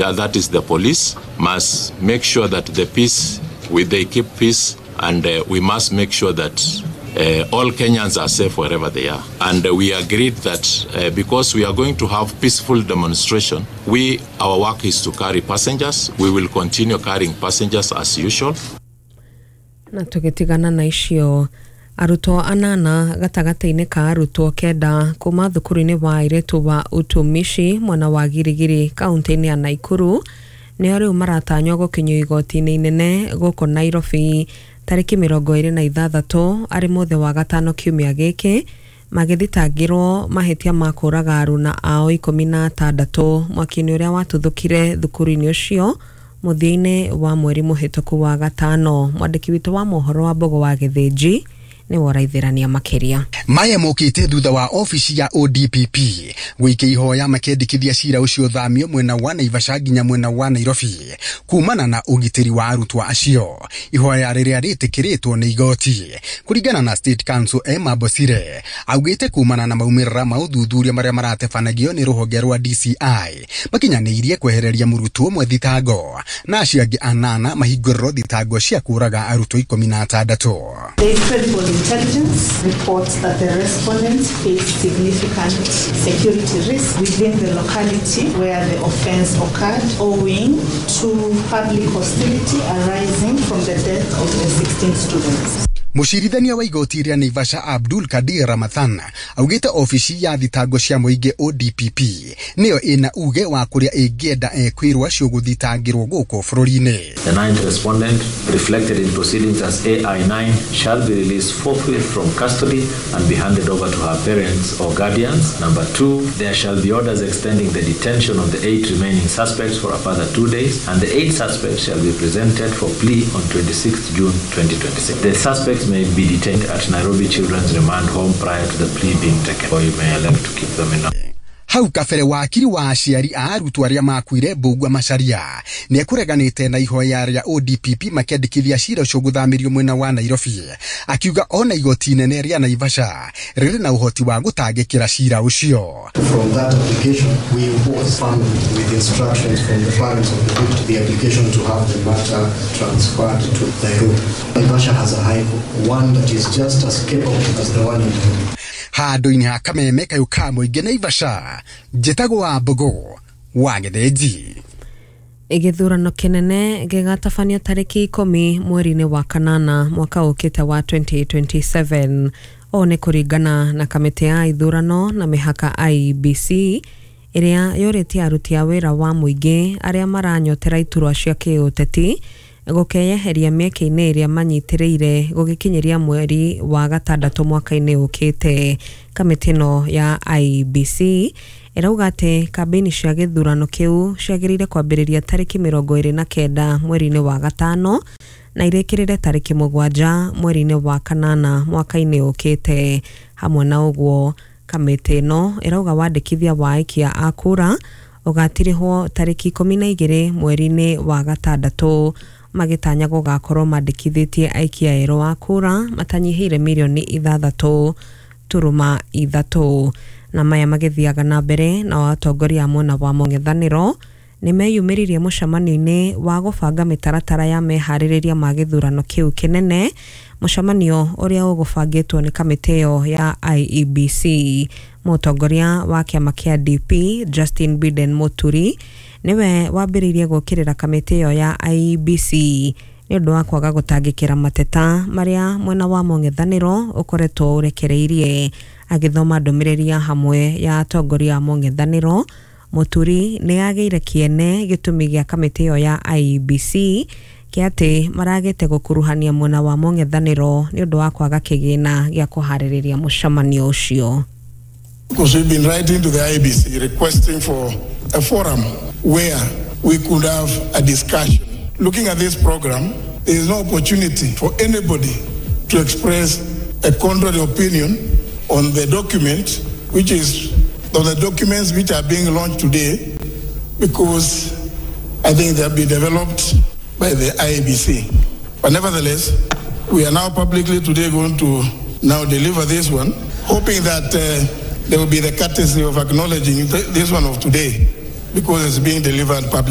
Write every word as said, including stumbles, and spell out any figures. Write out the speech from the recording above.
that, that is the police, must make sure that the peace, we, they keep peace, and uh, we must make sure that uh, all Kenyans are safe wherever they are. And uh, we agreed that uh, because we are going to have peaceful demonstration, we, our work is to carry passengers. We will continue carrying passengers as usual. Na tũgĩtigana na icio, arutwo anana gatagatĩ-inĩ ka arutwo kenda kuma thukuru-inĩ wa airĩtu wa Utumishi mwena wa Girigiri kaunti-inĩ ya Naikuru nĩo rĩu maratanywo gũkinyio igoti-inĩ inene gũkũ Nairobi tarĩki mĩrongo ĩrĩ na ithathatũ arĩ mũthĩ wa gatano kiumia gĩkĩ, magĩthitangĩrwo mahĩtia ma kũraga aruna ao ikũmi na atandatũ mwaki-inĩ ũrĩa watuthũkire thukuru-inĩ ũcio mũthia-inĩ wa mweri mũhĩtũku wa gatano. Mwandĩki witũ wa mohoro wa Mbogo wa Gĩthĩnji nĩ woraithĩrania makĩria. Maya mokĩte thutha wa ofici ya O D P P gũikia ihoya makĩendekithia cira ũcio thamio mwena wa Naivasha nginya mwena wa Nairobi kumana na ũgitĩri wa arutwo acio, ihoya rĩrĩa rĩtĩkĩrĩtwo nĩ igoti. Kũringana na State Counsel Emma Bosire, augĩte kumana na maumĩrĩra ma ũthuthuria marĩa maratebanagio nĩ rũhonge rwa D C I, makinyanĩirie kwehereria mũrutwo ũmwe thitango na acio angĩ anana mahingũrĩrwo thitango cia kũraga arutwo ikũmi na atandatũ. There is credible intelligence reports that the respondents face significant security risk within the locality where the offense occurred, owing to public hostility arising from the death of the sixteen students. Mũcirithania wa igoti rĩa Naivasha Abdul Kadir Ramadhan augĩte ofici ya thitango cia mũingĩ O D P P nĩyo ĩna uge wa kũrĩa ĩngĩenda ekwĩrwo acio gũthitangĩrwo gũkũ bũrũri-inĩ. The ninth respondent, reflected in proceedings as A I nine, shall be released forthwith from custody and be handed over to her parents or guardians. Number two, there shall be orders extending the detention of the eight remaining suspects for a further two days, and the eight suspects shall be presented for plea on twenty-sixth June twenty twenty-six. The suspects may be detained at Nairobi Children's Remand Home prior to the plea being taken, or you may elect to keep them in. Hau kabere, wakiri wa aciari a arutwo arĩa makuire Mbugua Macharia nĩ ekũreganĩte na ihoya rĩa O D P P makĩandĩkithia cira ũcio gũthamĩrio mwena wa Nairobi, akiuga ona igoti inene rĩa Naivasha rĩrĩ na ũhoti wa gũtangĩkĩra cira ũcio. From that application, we was found with instructions from the parents of the victim, the application to have the matter transferred to Nairobi. Naivasha has a high court, one that is just as capable as the one in Nairobi. Handũ-inĩ ha kameme kayũ ka mũingĩ Naivasha, njĩtagwo wa Mbogo wa Gĩthĩnji. Gĩthurano kĩnene gĩgatabanio tarĩki ikũmi mweri-inĩ wa kanana mwaka ũkĩte wa twenty twenty-seven. Ũũ nĩ kũringana na kamĩtĩ ya ithurano na mĩhaka I E B C, ĩrĩa yũrĩtie aruti a wĩra wa mũingĩ arĩa maranyotera iturwa cia kĩũteti gũkeyeheria mĩeke-inĩ ĩrĩa manyitĩrĩire gũgĩkinyĩria mweri wa gatandatũ mwaka-inĩ ũkĩte. Kamĩtĩ ĩno ya I E B C ĩrauga atĩ kambĩini cia gĩthurano kĩu ciagĩrĩire kwambĩrĩria tarĩki mĩrongo ĩrĩ na kenda mweri-inĩ wa gatano na irĩkĩrĩre tarĩki mũgwanja mweri-inĩ wa kanana mwaka-inĩ ũkĩte. Hamwe na ũguo, kamĩtĩ ĩno ĩrauga wandĩkithia wa aikia a kura ũgatirihwo tarĩki ikũmi na igĩrĩ mweri-inĩ wa gatandatũ, magĩtanya gũgakorwo mandĩkithĩtie aikia erũ a kura matanyihĩire mirioni ithathatũ turuma ithatũ. Na maya magĩthiaga na mbere, nao atongoria a mwena wa mũng'ethanĩro nĩ meyumĩririe mũcemanio-inĩ wa gũbanga mĩtaratara ya meharĩrĩria ma gĩthurano kĩu kĩnene, mũcemanio ũrĩa ũgũbangĩtwo nĩ kamĩtĩ ĩyo ya I E B C. Mũtongoria wa kĩama kĩa D P Justin Biden Muturi nĩwe wambĩrĩirie gũkĩrĩra kamĩtĩ ĩyo ya I E B C nĩ ũndũ wa kwaga gũtangĩkĩra mateta marĩa mwena wa mũng'ethanĩro ũkoretwo ũrekereirie. Agĩthoma ndũmĩrĩri ya hamwe ya atongoria a mũng'ethanĩro, Muturi nĩ agĩire kĩene gĩtũmi gĩa kamĩtĩ ĩyo ya I E B C kĩa atĩ maragĩte gũkuruhania mwena wa mũng'ethanĩro nĩ ũndũ wa kwaga kĩgĩna gĩa kũharĩrĩria mũcemanio ũcio. Because we've been writing to the I E B C requesting for a forum where we could have a discussion. Looking at this program, there is no opportunity for anybody to express a contrary opinion on the document, which is on the documents which are being launched today, because I think they have been developed by the I E B C. But nevertheless, we are now publicly today going to now deliver this one, hoping that uh, there will be the courtesy of acknowledging th- this one of today, because it's being delivered publicly.